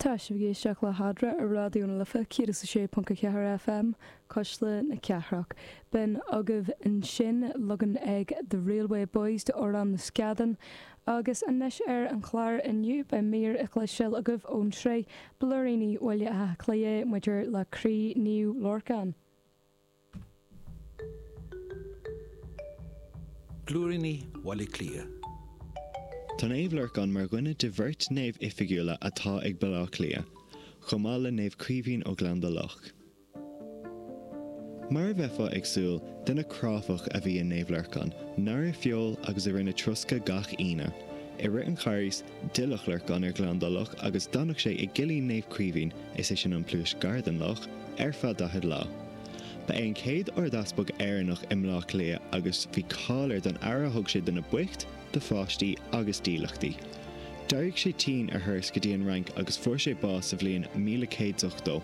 Tá sibh ag éisteacht le hEadra ar Raidió na Life 106.4 FM, Cuisle na Cathrach. B'in agaibh ansin leagan ag The Railway Boys de Amhrán na Scadán. Agus anois ar an chlár inniu beidh mír a chloisteáil agaibh ón tsraith Blúiríní Bhaile Átha Cliath maidir le Croí Naomh Lorcán. Blúiríní Bhaile Átha Cliath. Tá Naomh Lorcán mar dhuine de bheirt naomh oifigiúla atá ag Baile Átha Cliath, chomh maith le Naomh Caoimhín ó Ghleann Dá Loch. Mar a bheifeá ag súil, duine cráifeach a bhí i Naomh Lorcán, nár ith feoil agus a rinne troscadh gach Aoine. I rith an Charghais, d'fhillfeadh Lorcán ar Ghleann Dá Loch agus d'fhanadh sé i gcillín Naomh Caoimhín, is é sin an pluais gar don loch, ar feadh 40 lá. Ba é an chéad Ardeaspag Éireannach i mBleá Cliath agus bhí cáil air don aire a thug sé do na boicht, do pháistí agus dílleachtaí. D'éirigh sé tinn ar thuras go dtí an Fhrainc agus fuair sé bás sa bhliain 1180.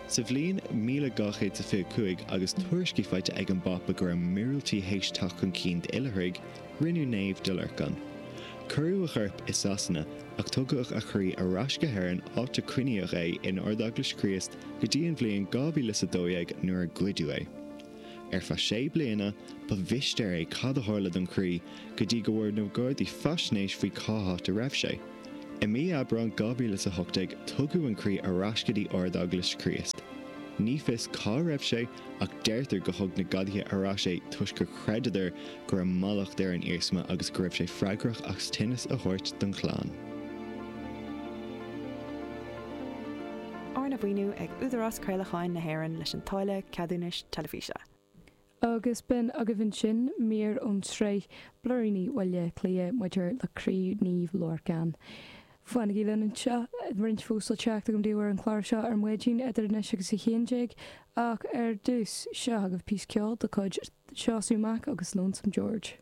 Sa bhliain 1225 agus tuairiscí faighte ag an bPápa go raibh míorúiltí théis teacht chun cinn d'oilithrigh, rinneadh naomh de Lorcán. Cuireadh a chorp i Sasana ach tugadh a chroí ar ais go hÉirinn áit a coinníodh é in Ardeaglais Chríost go dtí an bhliain 2012 nuair a goideadh é. Ar feadh sé bliana, ba mhistéir é cad a tharla don chroí go dtí go bhfuair na Gardaí faisnéis faoi cá háit a raibh sé. I mí Aibreán 2018 tugadh an croí ar ais go dtí Ardeaglais Chríost. Ní fios cá raibh sé ach deirtear go thug na gadaithe ar ais é toisc gur chreideadar go raibh mallacht ar an iarsma agus go raibh sé freagrach as tinneas a thabhairt don chlann. Arna mhaoiniú ag Údarás Craolacháin na hÉireann leis an táille ceadúnais teilifíse. Agus b'in agaibh ansin mír ón tsraith Blúiríní Bhaile Átha Cliath maidir le Croí Naomh Lorcán. Fanaigí linn anseo, roinnt fós le teacht agam daoibh ar an chlár seo ar maidin idir anois agus 11, ach ar dtús, seo agaibh píosa ceoil de chuid Seosamh Mac agus Lonesome George.